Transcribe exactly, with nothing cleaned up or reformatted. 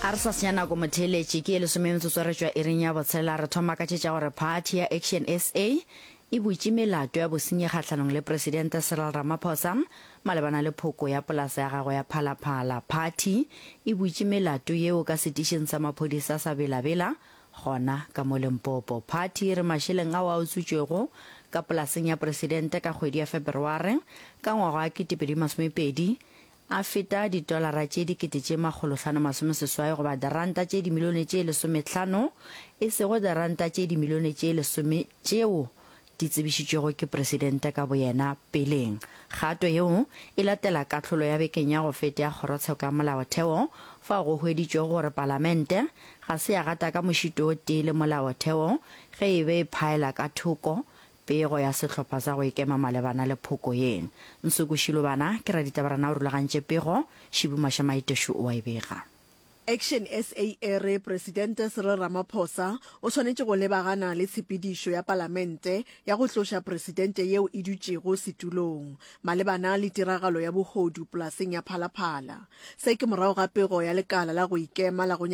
A re sa senya nako motheeletši, ke ye lesome metsotso re tšwa iring ya botshelela re thoma ka tše tša gore phathi ya Action SA e butše melato ya bosenyi kgahlanong le Presidente Cyril Ramaphosa malebana le phoko ya polasa ya gagwe ya Phalaphala. Phathi e butše melato yeo ka setišing sa maphodisa sa Bela-Bela gona ka mo Limpopo. Phathi e re mašeleng ao a utswitšwego ka polaseng ya Presidente ka kgwedi ya Feberware ka ngwaga wa kete pedi masomepedi a feta ditolara tše dikete tše makgolohlano masomeseswai goba diranta tše dimilione tše lesomehlano, e sego diranta tše dimilione tše lesome tšeo di tsebišitšwego ke Presidente ka boyena peleng. Kgato yeo e latela kahlolo ya bekeng ya go feta ya Kgorotsheko ya Molaotheo fao go hweditšwego gore Palamente ga se ya gata ka mošito o tee le Molaotheo ge e be e phaela ka thoko Pego ya sehlopha sa go ikema malebana le phoko ye. Nsuku Shilobana ke raditabarana o rulagantše pego, Shibu Mashamaiteshu o a e bega. Action SA e re Presidente Cyril Ramaphosa o swanetše go lebagana le tshepedišo ya palamente ya go tloša presidente yeo e dutšego setulong malebana le tiragalo ya bohodu polaseng ya Phala Phala. Se ke morago ga pego ya lekala la go ikema la go